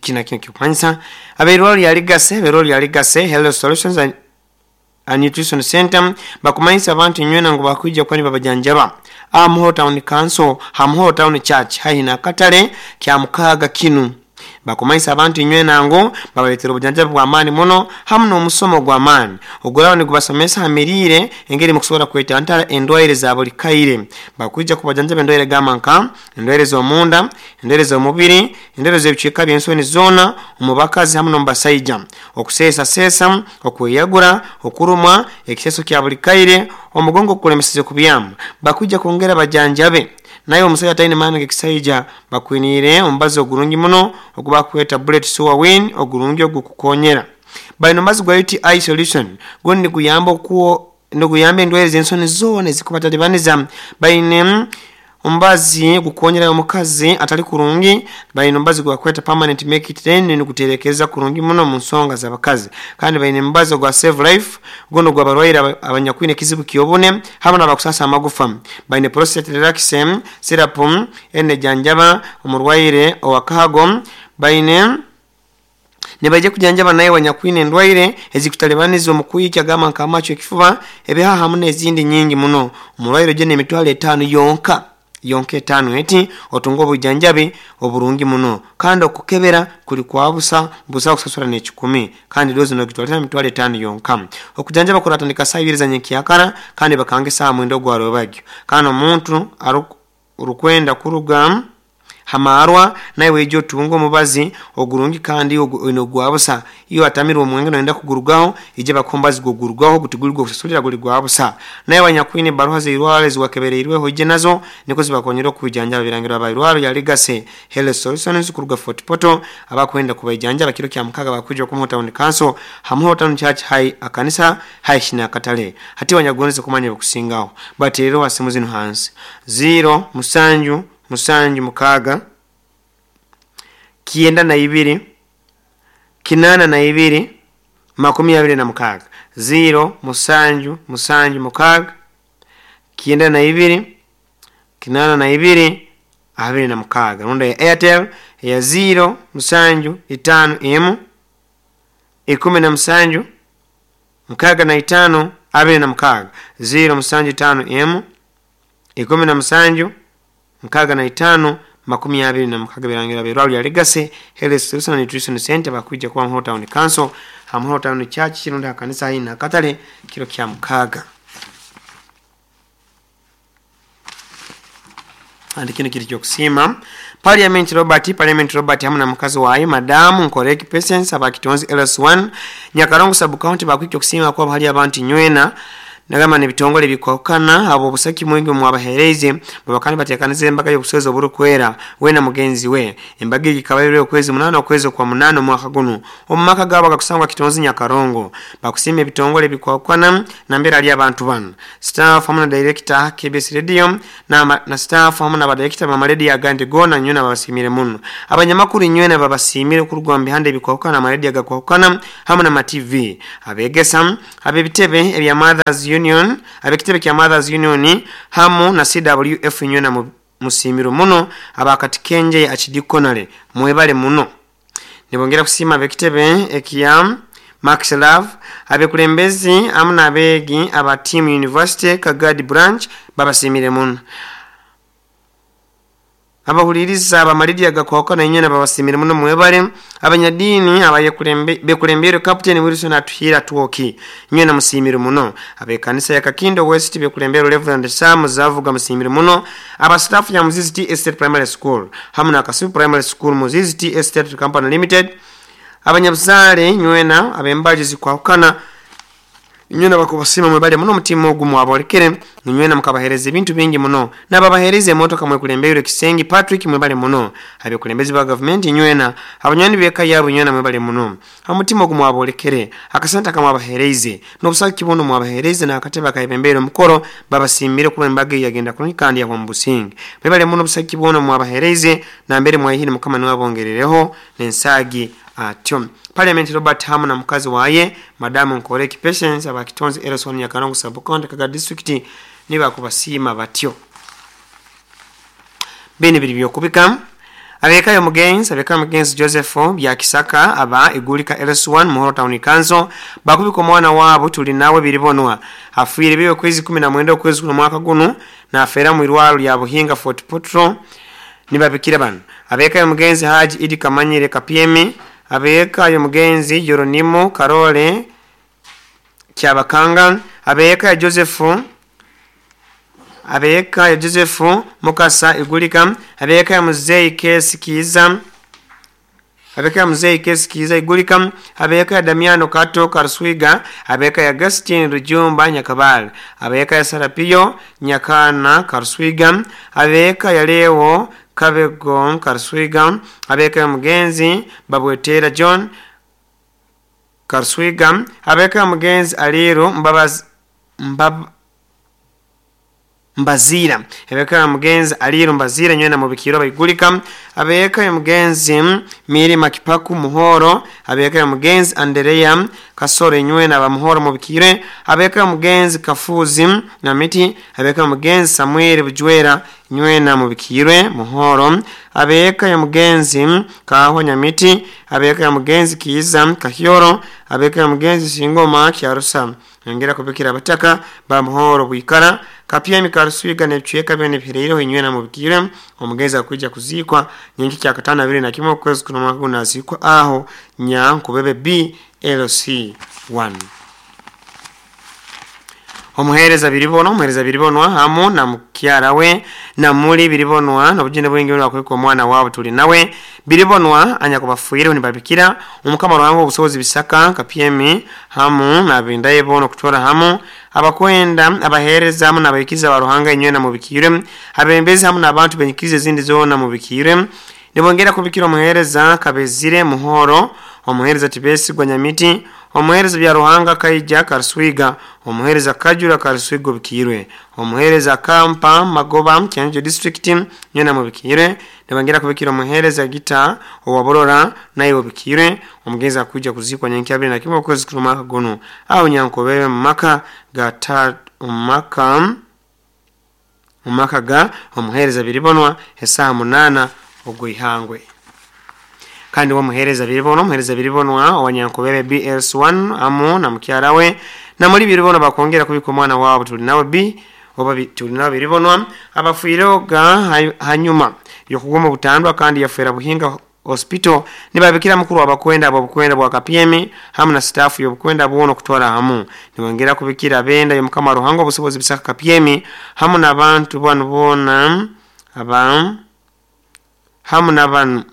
Kina kino kikumanyisa abeirwaro lya Legacy, abeirwaro lya Legacy Health Solutions and Nutrition Center bakumanyisa abantu inywena ngu bakwija kuba nibabajanjaba aha Muhoro Town Council ha Muhoro Town Church haihi n'akatale kya mukaaga kinu. Bakumanyisa abantu inywena ngu babaletera obujanjabi bw'amaani muno hamu n'omusomo gw'amaani oguraba nigubasomesa ha miriire engeri mukusobora kwetantara endwaire za buli kaire. Bakwija kubajanjaba endwaire gamba nka endwaire z'omunda, endwaire z'omubiri, endwaire z'ebicweka by'ensoni zoona omu bakazi hamu n'omu basaija, okuseesaseesa, okweyagura, okurumwa, ekiseeso kya buli kaire, omugongo ogukulemeseze kubyama. Bakwija kwongera bajanjabe naye omusaija ataine maani g'ekisaija bakwiniire omubazi ogurungi muno ogu bakweta Bullet Sure Win ogurungi ogukukonyera. Baine omubazi gwa UTI Solution gunu niguyamba okuwo niguyamba endwaire z'ensoni zoona ezikubatalibaniza. Baine omubazi ogukonyera omukazi atali kurungi, baine omubazi ogu bakweta Permanent Make It Rain niguterekereza kurungi muno omu nsonga z'abakazi. Kandi baine omubazi ogwa Save Life gunu ogw'abarwaire abanyakwine ekizibu ky'obune hamu n'abakusaasa amagufa. Baine Prostate Relax Syrup enu nejanjaba omurwaire ow'akahago. Baine Nibaija kujanjaba naiwe anyakwine endwaire ezikutalibaniza omu kwikya gamba nk'amacu, ekifuba, ebihaha hamu n'ezindi nyingi muno. Omurwaire oije n'emitwaro etaano yonka, yonka etaano eti, otunge obwijanjabi oburungi muno. Kandi okukebera kuli kwa busa, busaho kusasura n'ekikumi. Kandi doozi nogitwalira emitwaro etaano yonka. Okujanjaba kuratandika saaha ibiri za nyenkyakara kandi bakanga esaaha mwenda ogwa rwebagyo. Kandi omuntu arukwenda kuruga ha maarwa, naiwe ija otunge omubazi ogurungi kandi oine ogwa busa. Iwe atamirwe omwenge noyenda kugurugaho, ija bakuhe omubazi gw'okugurugaho, ogu tiguli gw'okusasulira guli gwa busa. Naiwe anyakwine ebbaruha z'eirwarro eziwakebereirweho oije nazo nikwo zibakonyere okukwijanjaba. Birangirwa aba irwarro lya Legacy Health Solutions kuruga Fort Portal abakwenda kubaijanjaba kiro kya mukaaga bakwija oku Muhoro Town Council ha Muhoro Town Church High akanisa haihi n'akatale. Hati iwe anyakugondeze kumanya ebikusingaho, bateerereho ha simu zinu hansi, ziiro musanju musanju mukaaga, kyenda na ibiri, kinaana na ibiri, 26. Ziiro musanju musanju mukaaga, kyenda na ibiri, 82, 26. Rundi eya Airtel eya ziiro musanju itaano emu, 17, 65, 26. Ziiro musanju itaano emu, 17, 65, 26 Birangira b'eirwarro lya Legacy Health Solution and Nutrition Centre bakwija kuba Muhoro Town Council ha Muhoro Town Church rundi ha kanisa haihi n'akatale kiro kya mukaaga. Kandi kinu kiri ky'okusiima Parliament Robert Parliament Robert hamu na mukazi waye Madamu Nkoreki Patience aba Kitonzi LS1 Nyakarongo Sub County bakwija okusiima kwabo hali abantu inywena nagamba n'ebitongole ebikwahukana habw'obusaki mwingi omwabahereize baba kandi batekanize embaga y'obuswezi oburukwera we na mugenzi we. Embaga egi ekaba eri okwezi munaana okwezi okwa munaana omwaka gunu omu maka gaabo agakusangwa Kitonzi Nyakarongo. Bakusiima ebitongole ebikwahukana nambere hali abantu banu staff hamu na director KBS Radio na na staff hamu na badirekita b'amarediyo agandi goona nywena babasiimire muno. Abanyamakuru inywena babasiimire kuruga omu bihanda ebikwahukana amarediyo agakwahukana hamu na ma-TV. Abegesa, ab'ebitebe ebya Mothers Union, ab'ekitebe kya Mothers Union hamu na CWF inywena musiimirwe muno. Aba Katikenje Archdiaconary mwebale muno. Nibongera kusiima ab'ekitebe ekya Max Love, abekulembezi hamu n'abeegi aba Team University Kagadi Branch babasiimire muno. Abahuliiriza ab'amalidi agakwahukana inywena babasiimire muno mwebale. Abanyadiini abekulembeirwe Captain Wilson Atuhiire Atwoki inywena musiimirwe muno. Ab'ekanisa ya Kakindo West bekulembeirwe Rev Sam Zavuga musiimirwe muno. Aba staff ya Muzizi Tea Estate Primary School hamu na Kasubi Primary School Muzizi Tea Estate Company Limited, abanyabuzaale inywena ab'embaju ezikwahukana Inywena bakubasiima mwebale muno omutima ogu mwabolekere, inywena mukabahereza ebintu bingi muno. Nababahereza emotoka mwekulembeirwe Kisengi Patrick mwebale muno. Abekulembezi ba gavumenti inywena, abanywani b'eka yabu inywena mwebale muno. Omutima ogu mwabolekere, akasente akamwabahereize, n'obusagiki bwona omwabahereize n'akatebe akayebembeire omukoro babasiimire kuba embaga eyi yagenda kurungi kandi yahwa mu businge. Mwebale muno obusagiki bwona omwabahereize nambere mwaihire Mukama niwe abongerereho n'ensaagi atyo. Parliament Robert hamu na mukazi waye Madamu Nkoreki Patience aba Kitonzi LC1 Nyakarongo Sub County Kagadi District nibo bakubasiima batyo. Binu biri byokubika. Abekayo mugenzi Joseph Byakisaka aba Igulika LS1 Muhoro Town Council bakubika omwana wabo tuli nawe biribonwa afiire biwe kwezi 19 okwezi kuno mwaka guno nafera mu irwalo lya Buhinga Fort Potro nibabikira bano. Abekayo mugenzi Haji Idi Kamanyire Kapiemi, abekayo mugenzi Jeronimo Karole Kyabakanga, abeka Joseph Mukasa Igulika, abeka Muzei Kesi Kiza, Igulika, abeka Damiano Kato Karswiga, abeka Agustin Rujumba Nyakabal, abeka Sarapio Nyakana Karswiga, abeka Yalewo Kabego Karswiga, abeka mugenzi Babwetera John Karswiga, abeka mugenzi Aliru Mbazira, abeka mugenzi Aliru Mbazira nywena mubikiro baigulika, abeka mugenzi Miri Makipaku Muhoro, abeka mugenzi Anderea Kasore nywena ba Muhoro mubikire, abeka mugenzi Kafuzi na miti, abeka mugenzi Samuel Bujwera nywena mubikire Muhoro, abeka mugenzi Kahwa Nyamiti, abeka mugenzi Kiza Kahyoro, abeka mugenzi Singoma Kyarusa. Ngera kubikira abataka ba Muhoro Bwikara Kapia Mikaruswiga nebchweka bene bireiro inywena mubikire. Omugeza kuja kuzikwa nyingi kya katana 21 kwezi kuno mwaka unazikwa aho Nyankubebe BLC1. Omuhereza biribonwa hamu na mukyara we na muri biribonwa nobugende bwingi bwa omwana wabo tuli nawe biribonwa anyakubafuire nibabikira omukama wangu obusobozi bisaka Kapiemi hamu na bindaye bono kutora hamu abakwenda abahereza hamu nabayikiza ba Ruhanga inywena mubikire, abembezi hamu n'abantu benyikize zindi zona mubikire. Nibongera kubikira omuhereza Kabezire Muhoro, omuhereza Tibesigwa Nyamiti, omuhereza bya Ruhanga Kaija Karswiga, omuhereza Kajura Karswiga bikirwe, omuhereza Kampa Magoba Kyanjo District nyena mubikire. Nibongera kubikira omuhereza Gita owaborora nayo bikire. Omugeza kuja kuzikwa nyenki 21 kwezi kuno mwaka guno au Nyankobebe maka ga maka ga omuhereza biribonwa esaha 8 ogwihangwe. Kandi wa muhereza biribonwa owanyankobebe BS1 amu na mukyara we na muri biribonwa bakongera kubika omwana wabo tuli nawe B oba tuli nawe biribonwa abafuiroga hanyuma yokugoma butandwa kandi yafera Buhinga Hospital nibabikira mukuru abakwenda abo bukwenda bwa Kapiemi hamu na staff yobukwenda buono kutwara hamu. Nibongera kubikira benda yomukama Ruhanga obusobozi bisaka Kapiemi hamu n'abantu bano bona aba hamu n'abantu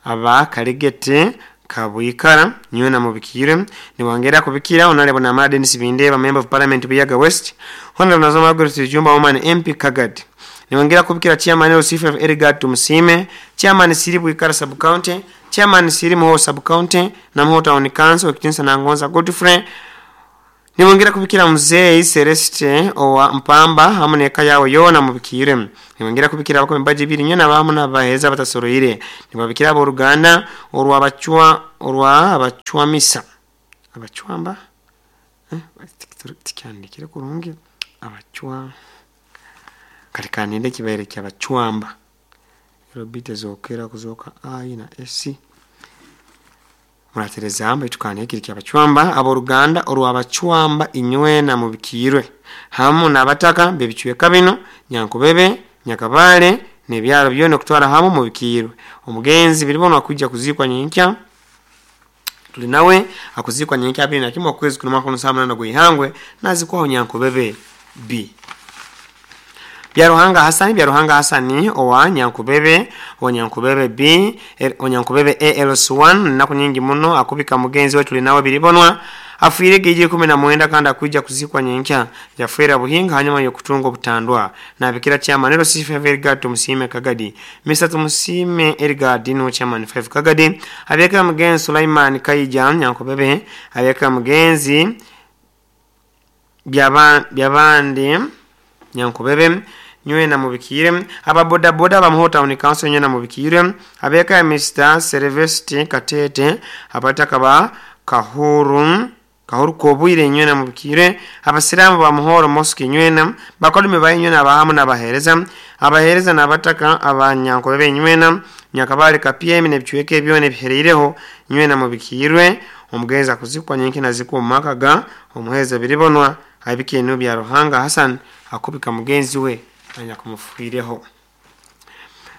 aba Kaligete Kabwikara nywena mubikire. Niwangera kubikira onalebo na Mara Dennis Bindeba member of parliament Buyaga West, honorable Nazoma Margaret Jumba woman MP Kagad. Niwangera kubikira chairman LC5 Edgar Tumusime, chairman Siri Bwikara sub county, chairman Siri Muho sub county na Muho Town Council Kitinsa na Ngonza Godfrey. Niwongera kubikira mzee Celeste owa Mpamba hamu neka yawe yona mubikire. Niwongera kubikira abako mbaji biri nyona bamu nabaheza batasoroire. Nibabikira abo Ruganda orwa abachwa orwa abachwamisa. Abachwamba? Tikyandikire kurungi abachwa. Katika ninde kibaire kya abachwamba. Robite zokera kuzoka A na S. Muratereza amba itukane kiri kya abachwamba abo Ruganda orwa abachwamba inywena mubikirwe hamu nabataka bebichweka bino Nyankubebe Nyakabale nebyaro byone kutwara hamu mubikirwe. Omugenzi biribonwa kujja kuzikwa nyinkya tuli nawe akuzikwa nyinkya 21 kwezi kuno mwaka 2008 gwihangwe nazikwaho Nyankubebe B. Byaruhanga Hasani owa Nyankubebe, owa Nyankubebe B, owa Nyankubebe ALS1 naku nyingi muno akubika mugenzi wetu linawe biribonwa afuire geje 19 kandi akuja kuzikwa nyenkya yafuira Buhinga hanyuma yokutunga obutandwa na bikira chairman ero C5 Edgar Tumusime Kagadi Mr Tumusime Edgar Dino chairman 5 Kagadi abeka mugenzi Sulaiman Kaija Nyankubebe abeka mugenzi byabandi Nyankubebe nywena mubikire aba boda boda ba Muho Town Council nywena mubikire abeka Mr Celeste Katete abataka ba Kahuruka obwire inywena mubikire, abasiramu ba Muhoro Mosque inywena, bakolumi ba inywena abahamu n'abaheereza, abaheereza n'abataka abanyankobebe inywena, Nyakabale Kapyemi n'ebicweka ebyona ebihereireho inywena mubikirwe. Omugenzi akuzikwa nyenki nazikwa omu maka ga omuheereza Biribonwa abika enubi ya Ruhanga Hassan akubika mugenzi we anyakumufwireho.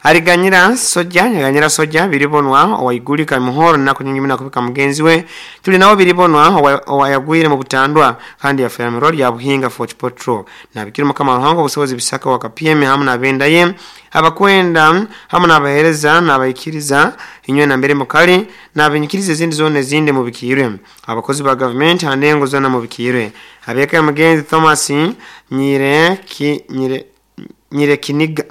Aliganyira soja yaganyira soja Biribonwa owaigulika Muhoro naku nyingi muno akubika mugenzi we. Tuli nawo Biribonwa owayagwire mu butandwa kandi yafera mu roli ya Buhinga Fort Potro. Nabikira Mukama Ruhanga obusobozi bisaka wa Kapyemi hamu n'abenda ye abakwenda hamu n'abaheereza n'abaikiriza inywe na mbere mukali n'abinyikiriza ezindi zona ezindi mubikirwe. Abakozi ba gavumenti handengo zona mubikirwe. Abeka mugenzi Thomas Nyirekiniga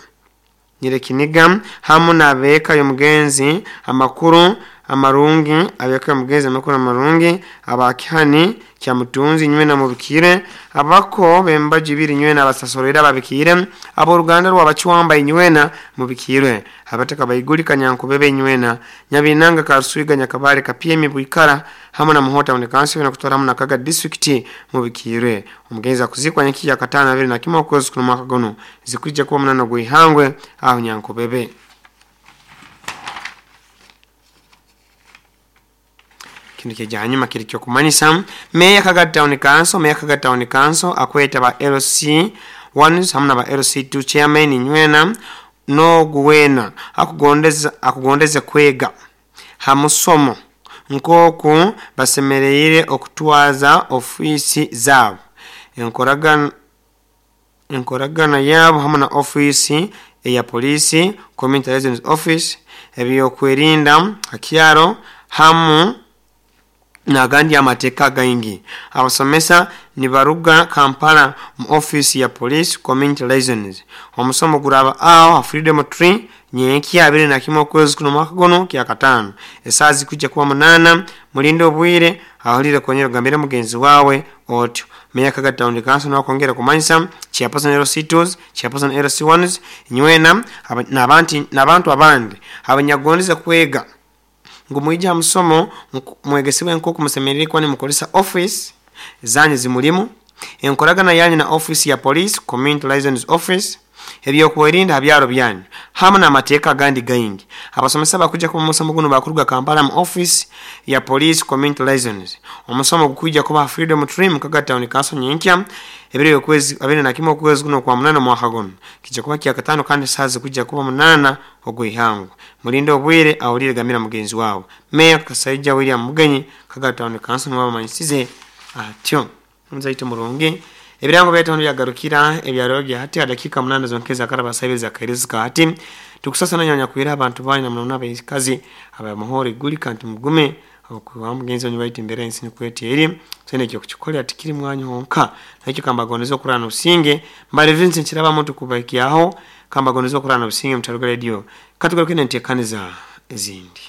Nyirekiniga hamu n'abeeka y'omugenzi amakuru amarungi, abeeka y'omugenzi amakuru amarungi abakihani kya mutunzi inywe na mubikire, abako bembaji ibiri inywe na abasasorera ababikire, ab'oruganda rw'abakiwamba inywe na mubikire, abataka baigulika Nyankubebe inywe na Nyabinanga Karuswiga Nyakabale Kapyemi Bwikara hamu na Muhota Town Council na kutwara hamu na Kaga District mubikire. Omugenzi akuzikwa nyaki ya katano abiri na kimwe okwezi kuno mwaka guno zikwijja kuba munano gwihangwe aho Nyankubebe. Kintu kya hanyuma kiri kyo kumanyisa Meya Kaga Town Council, Meya Kaga Town Council akweta ba LC1 hamu na ba LC2 chairman inywena no guwena akugondeza kwega hamusomo nkoku basemereire okutwaza ofisi zabo enkoragana yabo hamu na ofisi eya polisi community liaison office ebyokwerinda hakyaro hamu nagandi amateeka gaingi. Abasomesa nibaruga Kampala mu office ya police community liaisons. Omusomo guraba aho Freedom Tree nyenki 21 okwezi kuno mwaka guno kya katano esaa zikujja kuba 8. Mulinde obwire ahulire konyera gambira mugenzi wawe otyo. Meya Kaga Town Council nakongera kumanyisa chairperson LC2s, chairperson LC1s inywena n'abantu abandi abanyagondeza kwega ngu mwija musomo mwegesebwe nkoku musemerere kwani mukolesa office zanyu zimulimu enkoragana yanyu na office ya police community liaison office ebyokwerinda habyaro byanyu hamu n'amateeka agandi gaingi. Abasomesa bakuja kuba musomo guno bakuruga Kampala mu office ya police community liaisons. Omusomo gukwijja kuba Freedom Tree mu Kaga Town Council nyenkya ebiro okwezi 21 okwezi kuno kwa 8 mwaka guno kijja kuba kya katano kandi saa zikujja kuba 8 ogwihango. Mulinde obwire awulire gamira mugenzi wawe. Meya Kasaija William Mugenyi Kaga Town Council n'abamanyisize atyo. Nzaito murungi ebirango byatondo byagarukira ebyaro bya hati dakika 8 zonkeza karaba saibeza kairezika hati tukusasa nanya kwira abantu bani na mnaona abaikazi abamuhore gulika nti mugume okuwa mugenzi wanyu baiti mbere ensi nikweti eri sene kyo kuchikolera tikiri mwanyu honka nakyo kambagondeza okurana obusinge mbale Vincent kiraba muntu kubaikiaho kambagondeza okurana obusinge mutaruga radio katugaruke nentekaniza ezindi.